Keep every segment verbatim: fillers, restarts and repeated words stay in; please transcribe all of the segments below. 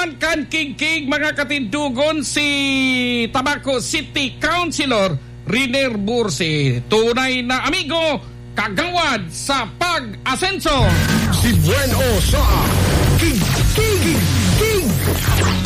Kan Kigkig, mga katindogon, si Tabaco City Councilor Riner Bursi, tunay na amigo, kagawad sa pag-asenso. Si Bueno sa Kigkig.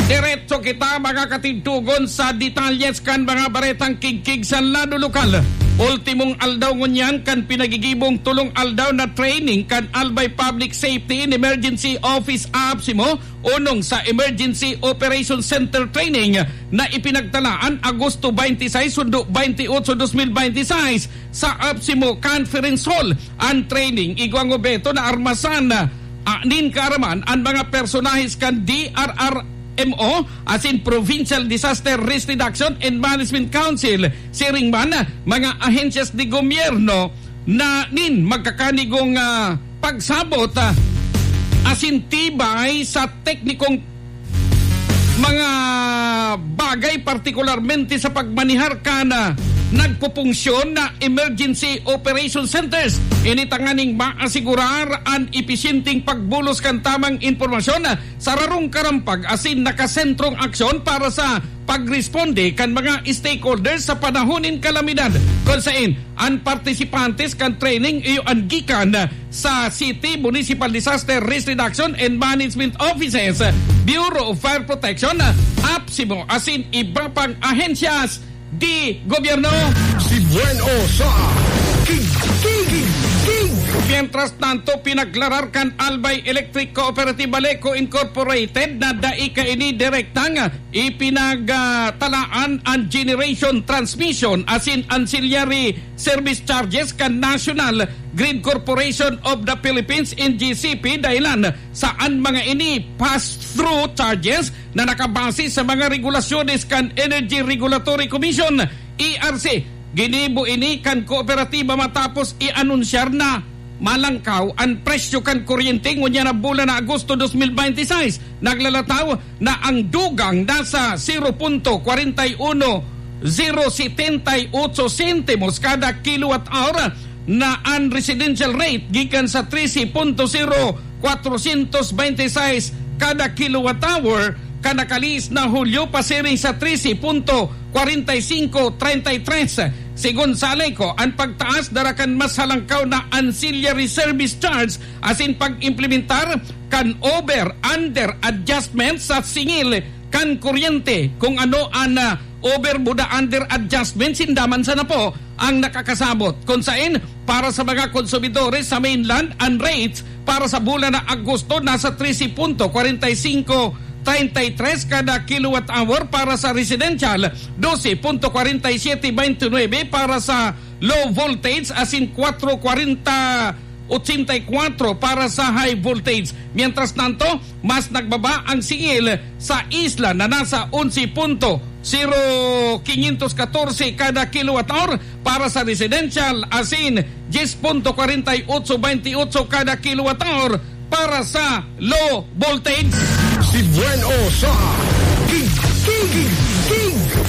Diretso kita, mga katindogon, sa detalyes kan mga baretang kigkig sa lado lokal. Ultimong aldaw ngunyan kan pinagigibong tulong aldaw na training kan Albay Public Safety and Emergency Office APSEMO, onong sa Emergency Operation Center Training na ipinagtalaan Agosto twenty-six, sundo twenty-eight, dos mil bente y seis, sa APSEMO Conference Hall. An training igwang obeto na armasan, ah, nin kaaraman an mga personahes kan D R R M O asin Provincial Disaster Risk Reduction and Management Council, siring man mga ahensyas de gobyerno na nin magkakanigong, ah, pagsabot, ah, asin tibay sa teknikong mga bagay, partikularmente sa pagmanehar kan, ah, nagpupunsyon na emergency operation centers. Ini tanganing maasigurar an episyenteng pagbulos kan tamang impormasyon, ah, sa rarong karampag asin nakasentrong aksyon para sa pagresponde kan mga stakeholders sa panahon nin kalamidad, kun saen an partisipantes kan training iyo an gikan sa City Municipal Disaster Risk Reduction and Management Offices, Bureau of Fire Protection, APSEMO, asin iba pang ahensyas de gobyerno. Si Bueno sa Kigkig. Mientras tanto, pinaklarar kan Albay Electric Cooperative Aleco Incorporated na dai kaini direktang ipinagtalaan an generation transmission asin ancillary service charges kan National Grid Corporation of the Philippines, N G C P, dahilan sa an mga ini pass-through charges na nakabase sa mga regulasyones kan Energy Regulatory Commission, E R C. Ginibo ini kan kooperatiba matapos i-anunsyar na malangkaw an presyo kan kuryente ngunyan na bulan na Agosto dos mil bente y seis. Naglalataw na ang dugang nasa zero punto kwarenta y uno zero setenta y ocho sentimos kada kilowatt hour, na an residential rate gikan sa trese punto zero kwatrosyentos bente y seis kada kilowatt hour kan nakalihis na Hulyo pasiring sa trese punto kwarenta y singko treinta y tres. Segun sa Aleco, an pagtaas dara kan mas halangkaw na ancillary service charge asin pag-implementar kan over-under adjustment sa singil kan kuryente. Kung ano an, ah, over buda under adjustment, sinda man sana po ang nakakasabot. Kun saen, para sa mga konsumidores sa mainland, an rates para sa bulan na Agosto nasa trese punto kwarenta y singko treinta y tres kada kilowatt hour, para sa residential, dose punto kwarenta y siyete bente nuebe para sa low voltage, asin kwatro kwarenta ochenta y kwatro para sa high voltage. Mientras tanto, mas nagbaba ang singil sa isla na nasa onse punto zero quinientos katorse kada kilowatt hour para sa residential, asin dyes punto kwarenta y otso bente y otso kada kilowatt hour para sa low voltage. Si Bueno sa Kigkig.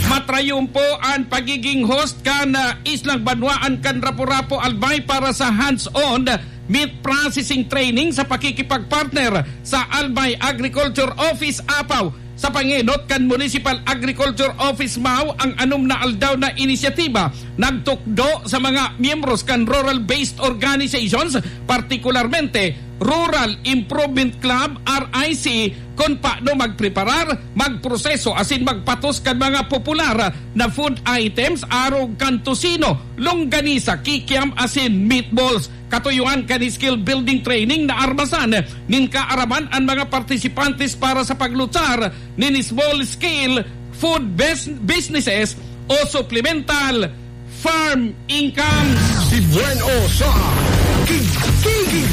Matrayon po an pagiging host kan, ah, Islang Banwaan kan Rapu-Rapu Albay para sa hands-on meat processing training sa pakikipagpartner sa Albay Agriculture Office, Apaw. Sa pangenot kan Municipal Agriculture Office, Mao, ang anom na aldaw na inisyatiba nagtukdo sa mga miyembros kan rural-based organizations, partikularmente Rural Improvement Club, R I C, kun paano magpreparar, magproseso asin magpatos kan mga popular na food items, arog kan tocino, longganisa, kikiam asin meatballs. Katuyoan kan skill building training na armasan nin kaaraman an mga partisipantes para sa paglutsar nin small scale food bus-, businesses o supplemental farm income. Si Bueno sa Kigkig.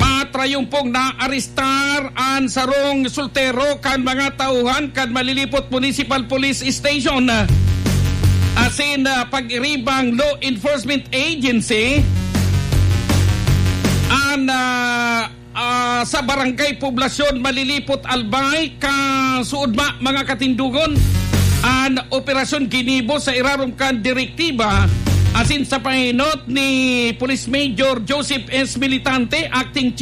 Matrayon pong naarestar an sarong soltero kan mga tauhan kan Malilipot Municipal Police Station, asin, ah, pag-iribang law enforcement agency an, ah, ah, sa Barangay Poblasyon, Malilipot, Albay, kasuodma, mga katindogon. An operasyon ginibo sa irarom kan direktiba asin sa pahinot ni Police Major Joseph S. Militante, Acting Chief